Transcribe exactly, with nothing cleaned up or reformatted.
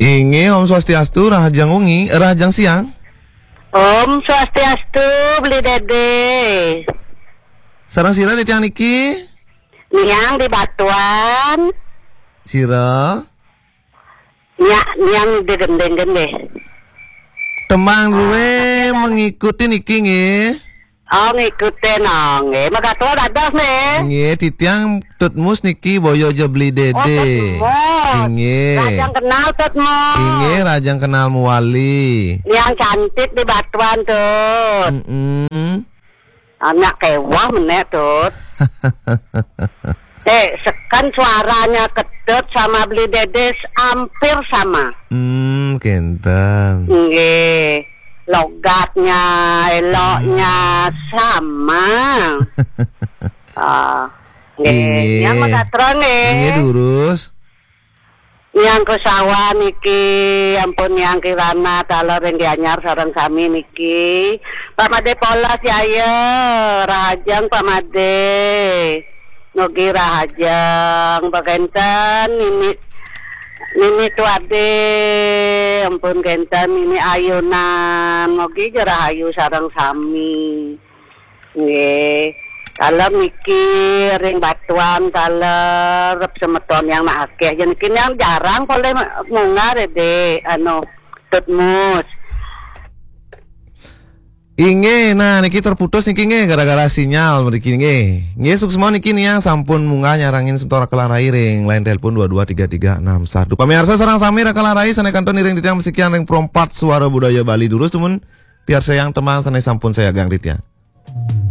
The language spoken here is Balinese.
Inggih, Om Swastiastu, rahajeng wengi, eh, rahajeng siang. Om Swastiastu, Beli Dede. Sareng sira titiang niki? Niang di Batuan. Sira? Nya, niang di Gending-Gending. Temang Ah, ruwe tapi ada mengikuti niki nggih. Oh, ngikutin, oh, nggih. Magatul dados, nggih. Nggih, titiang Tutmus niki boyo ja Beli Oh, Dede. Tutmus. Inggih. Rajang kenal Tutmus. Inggih, rajang kenal muwali. Yang cantik di Batuan, Tut. Mm-mm. Anak kewah menek, Tut. Eh, sekan suaranya Ketut sama Beli Dede hampir sama. Hmm, kenten. Nggih. Logatnya, eloknya Hmm. sama. Ah, nggih. Inggih. Yang megatreng, nggih. Inggih, durus. Yang kesawan niki, ampun, yang Kirana, taler ring Gianyar sareng sami niki. Pak Made Polas, ya, ya. Rahajeng, Pak Made. Mugi rahajeng, Pak Kenten, Nini, Nini Tuade, ampun, Kenten, Nini Ayunan. Mugi ja rahayu sareng sami. Nggih. Taler niki ring Batuan, taler semeton yang nak akeh. Yen niki yang jarang polih munggah, Dek, anu, Tutmus. Inggih, nah, niki terputus niki nggih gara-gara sinyal mriki nggih. Nggih, suksma niki niang sampun munggah nyarengin semeton Raka Larai ring line telepon dua dua tiga tiga enam satu. Pamirsa sareng sami, Raka Larai sane kantun iring titiang masikian ring Pro empat Suara Budaya Bali. Durus dumun piarsayang tembang sane sampun sayagang titiang.